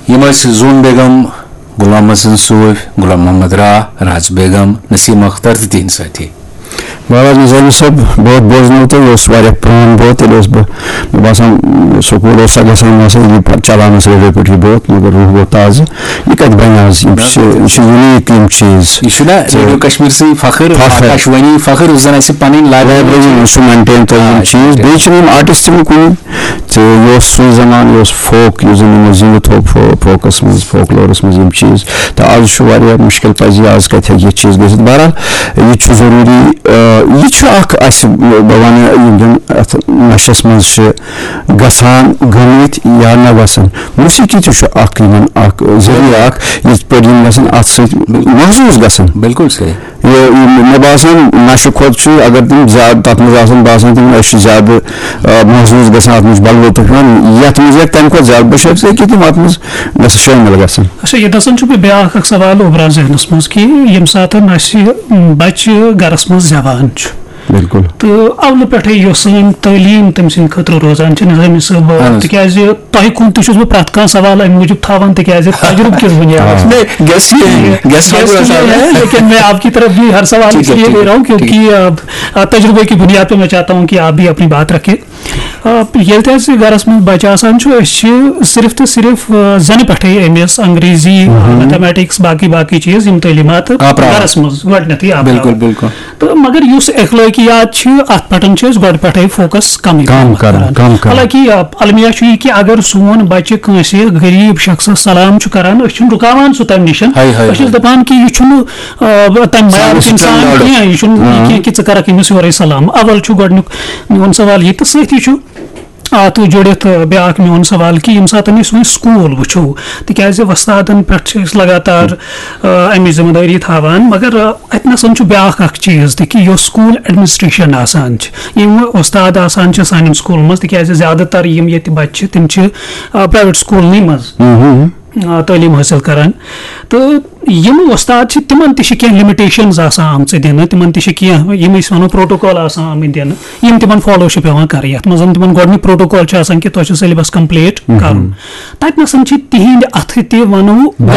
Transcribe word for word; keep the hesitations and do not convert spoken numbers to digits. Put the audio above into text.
یِم ٲسۍ زوٗن بیگم، غلام حسن صوٗفۍ، غلام محمد راہ، راز بیگم، نسیم اختر تہٕ تِہنٛدۍ سٲتھی۔ مہراز نظامی صٲب، بہت بوزنو تہٕ یہِ اوس واریاہ پرٛون بہت، ییٚلہِ اوس بہٕ، مےٚ باسان، سکوٗل اوسا گژھان، مےٚ باسان، یہِ پَتہٕ چلاونَس ریڈیو پٮ۪ٹھ یہِ بہت، مگر روح گوٚو تازٕ۔ یہِ کَتہِ بَنہِ آز؟ یِم چھِ، یہِ چھِ یوٗنیٖک یِم چیٖز۔ یہِ چھُنہ تہٕ ریڈیو کشمیر سٕے فخر، فخر۔ آکاشوانی فخر، یُس زن اَسہِ پنٕنۍ library لایبریری چھِ۔ منٛز سُہ مینٹین تھٲوِن آ، چیٖز۔ بیٚیہِ چھِنہٕ یِم آرٹسٹ تہِ وۄنۍ کُنہِ، تہٕ یہِ اوس سُے زمان، یہِ اوس فوک، یُس زَن یِمو زِندٕ تھوٚو فو-، فوکَس منٛز، فوکلورَس منٛز یِم چیٖز۔ تہٕ آز چھُ واریاہ مُشکِل، پَزِ یہِ آز کَتہِ ہیٚکہِ یہِ چیٖز گٔژھِتھ۔ بہرحال، یہِ چھُ ضروٗری، آ، یہِ چھُ اکھ اَسہِ، بہٕ وَنہٕ، یِم زَن اَتھ نَشَس منٛز چھِ گژھان گٔمٕتۍ یا نہ گژھان۔ موسیقی تہِ چھُ اکھ یِمن اکھ ذٔریعہٕ اکھ، یِتھ پٲٹھۍ یِم گژھن اَتھ سۭتۍ محظوٗظ گژھن۔ بالکل صحیح۔ یہِ، یہِ، مےٚ باسان، نشہٕ کھۄتہٕ چھُ، اگر تِم زیادٕ تَتھ منٛز آسان، باسان تِم، أسۍ چھِ زیادٕ، آ، محظوٗظ گژھان، اَتھ منٛز چھُ بَلوطُف یِوان، یَتھ منٛز ہیٚکہِ تَمہِ کھۄتہٕ زیادٕ، بہٕ چھُس ہیٚکہِ تِم اَتھ منٛز گژھِ شٲمِل گژھٕنۍ۔ اچھا، ییٚتہِ نَسَن چھُ مےٚ بیٛاکھ اَکھ سوال اُبران ذہنَس منٛز کہِ ییٚمہِ ساتَن اَسہِ، م، بَچہِ گَرَس منٛز زٮ۪وان چھُ، بِلکُل۔ تہٕ اَونہٕ پٮ۪ٹھَے یۄس سٲنۍ تعلیٖم تٔمۍ سٕنٛدِ خٲطرٕ روزان چھِ، نظامی صٲب، اہن حظ۔ تِکیٛازِ تۄہہِ کُن تہِ چھُس بہٕ پرٛٮ۪تھ کانٛہہ سوال اَمہِ موٗجوٗب تھاوان، تِکیٛازِ تجربہٕ کِس بُنیادَس پٮ۪ٹھ۔ نہیں، گیس یہ ہے، گیس گیس تو یہ ہے، لیکن میں آپ کی طرف بھی ہر سوال ٹھیک اس ہے، لیے ٹھیک لے ہے، رہا ہوں ٹھیک ہے۔ کیونکہ آ، آ، تجربے کی بنیاد پہ میں چاہتا ہوں کہ آپ بھی اپنی بات رکھیں۔ آ، ییٚلہِ تہِ اَسہِ گَرَس منٛز بَچہِ آسان چھُ، أسۍ چھِ صرف تہٕ صرف، آ، زَنہِ پٮ۪ٹھَے أمِس انگریزی، میتھمیٹکس، باقٕے باقٕے چیٖز، یِم تعلیٖمات آپراوان۔ گَرَس منٛز گۄڈٕنٮ۪تھٕے آپراوان۔ بالکل، بالکل۔ تہٕ مگر یُس اخلٲقیات چھِ، اَتھ پٮ۪ٹھ چھِ أسۍ گۄڈٕ پٮ۪ٹھَے فوکس کمٕے کم پہمتھ کران، کم کران۔ حالانکہ آ، المیہ چھُ یہِ کہِ اگر سون بَچہِ کٲنٛسہِ غریٖب شخصس سلام چھُ کران، أسۍ چھِنہٕ رُکاوان سُہ تَمہِ نِش۔ ہاے، ہاے، أسۍ چھِس ہاے۔ دَپان کہِ یہِ چھُنہٕ، آ، تَمہِ سانہِ معیارُک اِنسان standard۔ کینٛہہ، یہِ چھُنہٕ یہِ کینٛہہ کہِ ژٕ کَرَکھ أمِس یورَے سلام۔ اول چھُ گۄڈٕنیُک میون سوال یہِ، تہٕ سۭتی چھُ اَتھ جُڑِتھ، آ، بیٛاکھ میون سوال کہِ ییٚمہِ ساتہٕ أسۍ وۄنۍ سکوٗل وٕچھو، تِکیٛازِ وۄستادَن پٮ۪ٹھ چھِ أسۍ لگاتار، آ، اَمِچ ذمہٕ دٲری تھاوان، مگر، آ، اَتہِ نَسَن چھُ بیٛاکھ اَکھ چیٖز تہِ کہِ یۄس سکوٗل ایڈمنسٹریشن آسان چھِ، یِم وۄستاد آسان چھِ سانٮ۪ن سکوٗلَن منٛز، تِکیٛازِ زیادٕ تر یِم ییٚتہِ بَچہِ چھِ، تِم چھِ، آ، پرٛایویٹ سکوٗلنٕے منٛز، آ، تعلیٖم حٲصِل کران۔ تہٕ یِم وۄستاد چھِ، تِمن تہِ چھِ کینٛہہ لِمِٹیشنز آسان آمژٕ دِنہٕ، تِمن تہِ چھِ کینٛہہ، یِم أسۍ وَنو، پروٹوکال آسان آمٕتۍ دِنہٕ، یِم تِمن فالو چھِ پٮ۪وان کَرٕنۍ۔ یَتھ منٛز زَن تِمن گۄڈٕنیُک پروٹوکال چھُ آسان کہِ تۄہہِ چھُ سیلبس کمپلیٖٹ کَرُن۔ تَتہِ نَسَن چھِ تِہِنٛدِ اَتھٕ تہِ، وَنو، غلطی